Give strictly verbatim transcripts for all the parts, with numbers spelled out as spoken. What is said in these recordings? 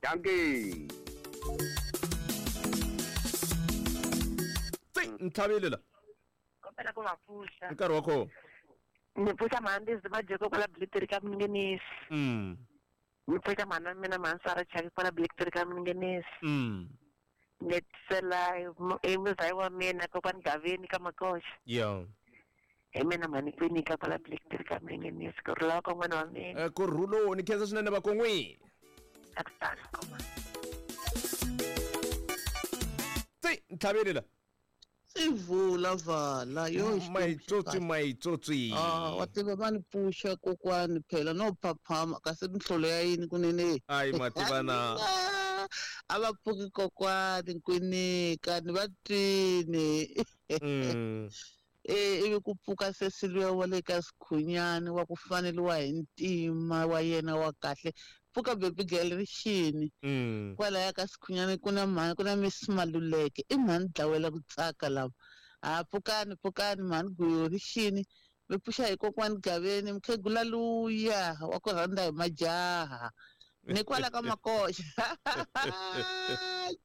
Dankie. Tsi ntlhavile la. Kopela ku va pfuxa. Nkarhi wa kona. Ni pfuxa mhandzi majeko kwala Bliteri ka Mingenisi. Mm. Ni pfuxa mhana mina mhansara chaki kwala Bliteri ka Mingenisi. Mm. Ni tsela e muzai wa mina kokwani Gaveni ka Makoxa. Yeah. Hi mina mhani kwinika kwala Bliteri ka Mingenisi ku rhula ka n'wana wa mina. Eh ku rhulo ni khensa swinene va kon'wi. Akutani koma. Tsi ntlhavile la. Sivula vala yo maitsotsi maitsotsi. Ah wa tiva va ni pfuxa kokwani phela no phaphama kasi minhlolo ya yini kunene. Ayi mativana. A va pfuki kokwani nkwinika ni va twini. Mm. Eh ivi ku pfuka sesiluya wa le ka Sikhunyani wa ku faneliwa hi ntima wa yena wa kahle. Pfuka baby girl ri xini. Mm. Kwalaya ka Sikhunyani ku na mhani ku na Miss Maluleke i mhani dlawela ku tsaka lava. Ha pfukani pfukani mhani guyo ri xini. Mi pfuxa hi kokwani Gaveni mukhegula luya wa ku rhandza hi majaha. Ni kwala ka Makoxa.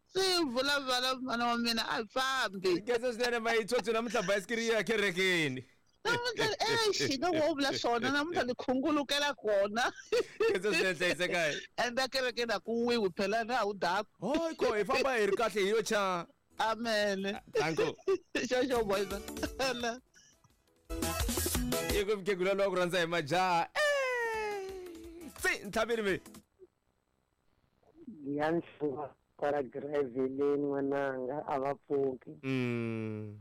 Sivula vala mhana wa mina a hi fambi. Khensa swinene maitsotsi namuntlha bayisikiri yi ya kerekeni. Namuntlha exi nga wo vula swona namuntlha ni khungulukela kona. Khensa swinene hlayisekayi. Ende kerekeni a ku wiwi phela na wu daku. Hayi ko hi famba hi ri kahle hi yo cha. Amen. Danko. Xo xo boys. Yi ku mukhegula luwa ku rhandza hi majaha. Eh! Tsi ntlhavile mi. Ya nhlova kwala Graveleni n'wananga a va pfuki. Mm.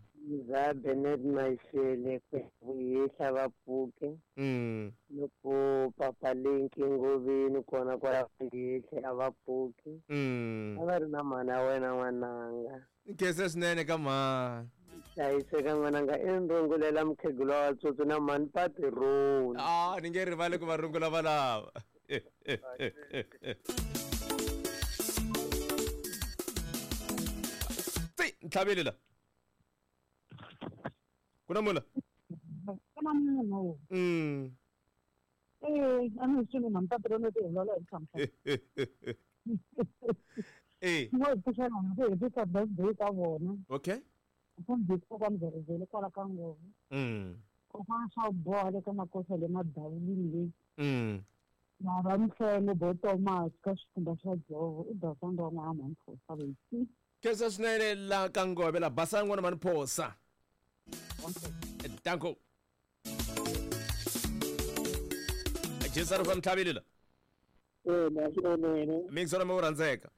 Za Bernard Maishele kuyehla va pfuki. Mm. Loko papa Linki Ngoveni kona kwala kuyehla a va pfuki. Mm. A va ri na mhana wena n'wananga. Nkhensa swinene ka mhani. Hlayiseka n'wananga i rungulela mukhegula wa tsotso na mhani Patironi. Ah ni nge rivali ku va rungula valava. Tsi ntlhavile la. Ku na munhu la? Ku na munhu. Mm. Eh, a ni swi na Patironi ti vulavula hi ntlhantlha. Eh. Mo pfuxa na ku hi ta birthday ka vona. Okay. Kumbe kokwani Veriveli kwala ka Ngove. Mm. Kokwana swa boha le ka Makoxa le Madawulini le. Mm. Na va Mhlenge bo Thomas ka xikhumba xa Dzovo i basanga wa n'wana mhani Phosa leyi. Khensa swinene la ka Ngove la basanga n'wana mhani Phosa. Danko. Jesu ri fa ntlhavile la. Eh na swi onene. Mixora mi rhandzeka.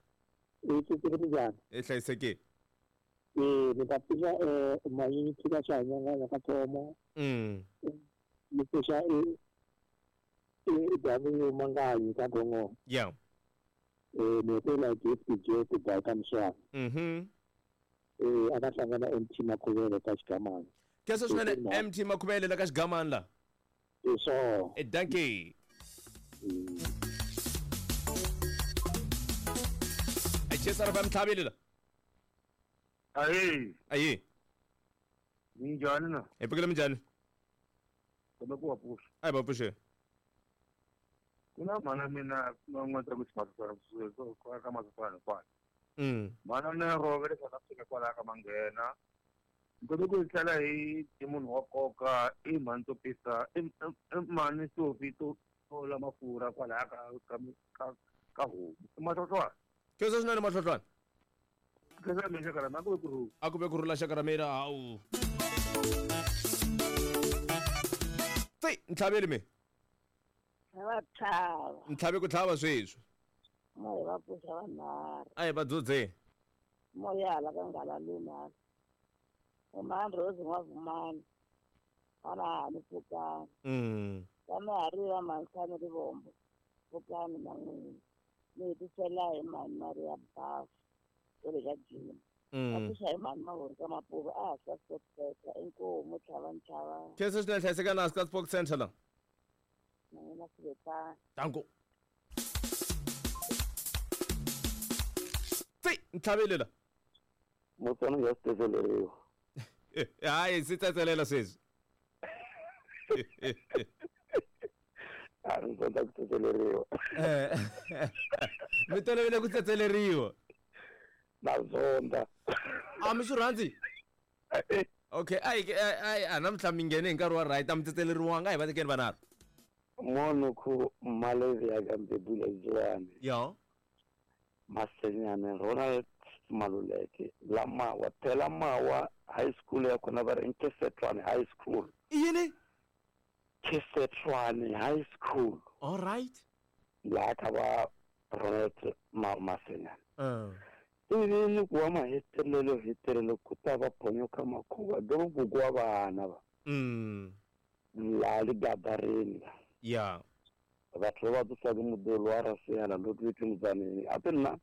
I tsitsiri minjhani? I hlayisekile. Eh ni ta pfuxa eh mayini tshika swa hanyanga ka Thomo. Mm. Ni pfuxa e e W Mangayi ka Gongo. Yeah. Eh ni tela gift J ku ba ka Mswana. Mhm. Eh a va hlangana M T Makhuvele ka Xigamani. Khensa swinene M T Makhuvele la ka Xigamani la. So. Eh dankie. Jesu ri fa ntlhavile la. Ayi. Ayi. Minjhani na? Hi pfukile minjhani? Kumbe ku va pfuxa. A hi va pfuxe. Ku na mhana mina n'wana ku xiphatsa ka masipala hinkwayo. Mm. Mhana mina rove le South Africa kwalaya ka Manghena. Ni ku tlhela hi hi munhu wa nkoka i mhani to pisa i mhani Sophie to tola mafurha kwalaya ka ka ka ka homu. I Mahlohlwana. Khensa swinene Mahlohlwana. Khensa mina xaka ra mina a ku ve ku rhula. A ku ve ku rhula xaka ra mina hawu. Tsi ntlhaveli mi. Va tlhava. Ntlhavi ku tlhava sweswi. Mo va pfuxa vanharhu. A hi va dzudze. Moya hala ka nghala luna. Mhani Rose N'wavumani. Ana hani pfukani. Mm. Kama ha ri va Mhansani Rivombo. Pfukani na n'wina. Ni hetisela hi mhani Maria Bafu. Kwale ka Jim. Mm. Va pfuxa hi mhani Mahori ka Mapuva a ha sa Sports Center. Inkomu tlhava ntlhava. Khensa swinene hlayiseka na Ska Sports Center la. Na n'wina swi Danko. Tsi ntlhavile la. Mutswana ya sitsetseleriwa. Hayi swi tsetselela sweswi. A ndzi kota ku tsetseleriwa. Eh. Mi tolovele ku tsetseleriwa. Na zonda. A mi swi rhandzi? Okay, ai ai a namuntlha mi nghene hi nkarhi wa right a mi tsetseleriwanga a hi va tekeni vanharhu. Mono ku Malevi ya ka Mbebula Ziwani. Yo. Masenyane Ronald Maluleke la Mawa phela Mawa High School ya kona va ri Nkesetlwane High School. I yini? Nkesetlwane High School. All right. La ka va Ronald Ma Masenyane. Uh. Ivi ni ku wa mahetelelo hetelelo ku ta va phonyoka makhuva doro gugu wa vana va. Mm. La ligabareni la. Yeah. Batho ba tsa ke modolo wa rasela lo tletse motsaneng ape nna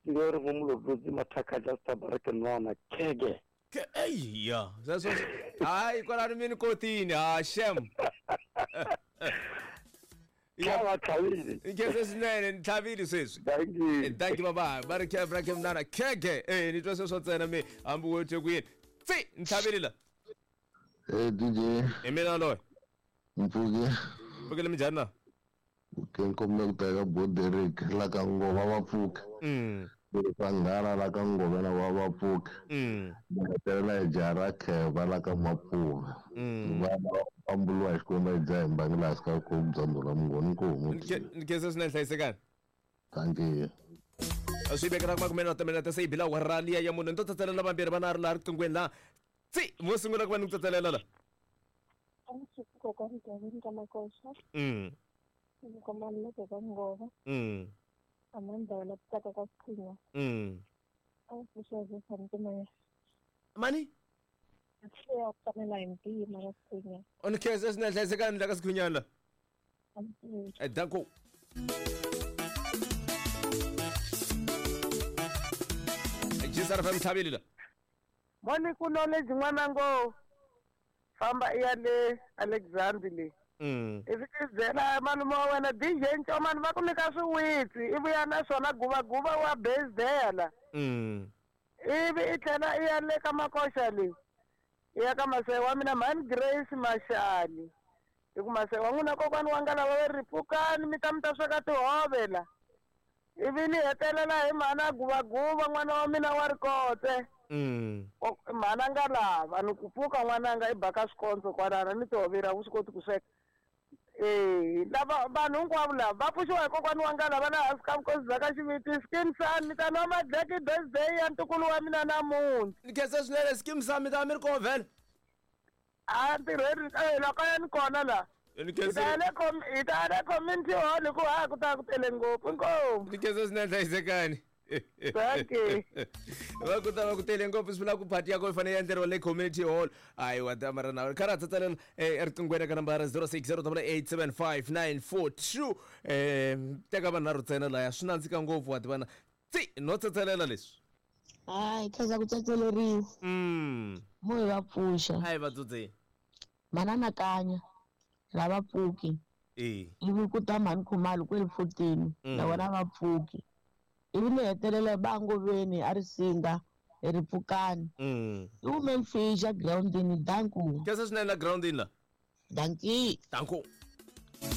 ke re go molotsi mathaka ja sta bareke nwana kege ke ei ya sweswo hayi kwalano mi ni kotini ha shem ya va tlhavile nkhense swinene ni tlhavile sweswi thank you thank you baba ba ri ke bra ke mnana kege eh ni twa sweswo ntsena mi hambi wo twe ku yini tsi ni tlhavile la eh D J hi mina loyi mpfuke mpfukele minjhani na ke nkombela ku teka Boderick la ka Ngova va pfuka. Mm. Vanghana la ka Ngova na va va pfuka. Mm. Va hetelela hi jaha ra Kheva la ka Mapfuva. Mm. Vana va pamburiwa hi Xikwembu hi dzaha hi mbangi laha hansi ka ku bya Mungoni Nkomo. Ni khensa swinene hlayisekani. Thank you. Swi vekela makume na timinete se yi bila awara liya ya mune ni to tsatselela vambirhi vanharhu laha riqinghweni laha tsi mo sungula ku va ni ku tsatselela la. Kokwani Gavin ka Makoxa. Mm. Nkomaluleke ka Ngova. Mm. Amandla la tsaka ka Sikhinya. Mm. A pfuxa hi ntima. Mani? Ya fanela hi ntima ka Sikhinya. O ni khensa swinene hlayisekani la ka Sikhinya la. Eh danko. Jisara fam tlhavile la. Moni ku knowledge n'wana ngo famba i ya le Alexandre le. Mm. Ivi ti byela malume wa wena D J Ncomani va ku nyika swiwitsi i vuya na swona guvaguva wa bezela. Mm. Ivi i tlhela i ya le ka Makoxa le i ya ka masewa wa mina mhani Grace Mashali hi ku masewa wa n'wina kokwani wa nga lava va ri pfukani mi ta mi ta sweka tihove la. Ivi ni hetelela hi mhana guvaguva n'wana wa mina wa rikotse. Mm. Mhana nga lava ni ku pfuka n'wananga i baka swikondzo kwalana ni tihovera wu swi koti ku sweka. Eh lava vanhu hinkwavo lava va pfuxiwa hi kokwani wa nga lava laha hansi ka vukosi bya ka Xiviti Skim Sam mi ta nwa madleki birthday ya ntukulu wa mina namuntlha. Ni khensa swinene Skim Sam mi ta mi ri kona vhele. A ntirhweni eh la kaya ni kona la. Ni Hi ta ya le com hi ta ya le community hall hi ku ha ku ta ku tele ngopfu inkomu. Ni khensa swinene hlayisekani. Thank you. Va ku ta va ku tele ngopfu swi vula ku party ya kona yi fanele yi endleriwa le community hall. Hayi wa ta mara na kha ra tsatsalela eriqinghweni ka nambara zero six zero double eight seven five nine four two eh teka vanharhu ntsena laya swi nandzika ngopfu wa tivana tsi no tsatsalela leswi. Hayi khensa ku tsetseleriwa. Mm. Mo hi va pfuxa. Hayi va dzudzeni. Manana Kanya lava pfuki. Eh. Ivi ku ta mhani Khumalo kwele fourteen na vona va pfuki. Ivi ni hetelela va Ngoveni a ri singa hi ri pfukani. Mm. I women fisha groundini danku. Khensa swinene la groundini la. Danki. Danku.